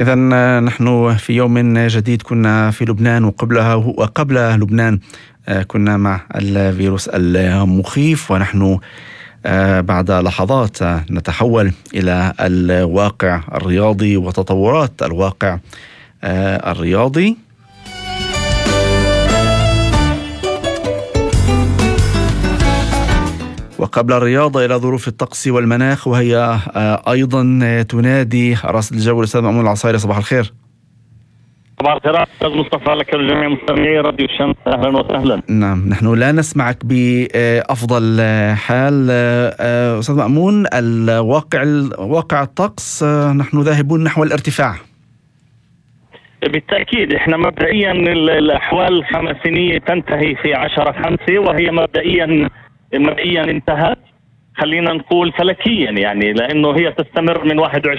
إذا نحن في يوم جديد كنا في لبنان وقبل لبنان كنا مع الفيروس المخيف، ونحن بعد لحظات نتحول إلى الواقع الرياضي وتطورات الواقع الرياضي. وقبل الرياضة إلى ظروف الطقس والمناخ، وهي أيضا تنادي رصد الجو. الأستاذ مأمون العصايري، صباح الخير. صباح الخير أستاذ مصطفى، لك ولجميع مستمعي راديو الشمس، أهلا وسهلا. نعم، نحن لا نسمعك بأفضل حال أستاذ مأمون. واقع الطقس، نحن ذاهبون نحو الارتفاع. بالتأكيد احنا مبدئيا الأحوال الخمسينية تنتهي في 10/5، وهي مبدئيا انتهت، خلينا نقول فلكيا يعني، لأنه هي تستمر من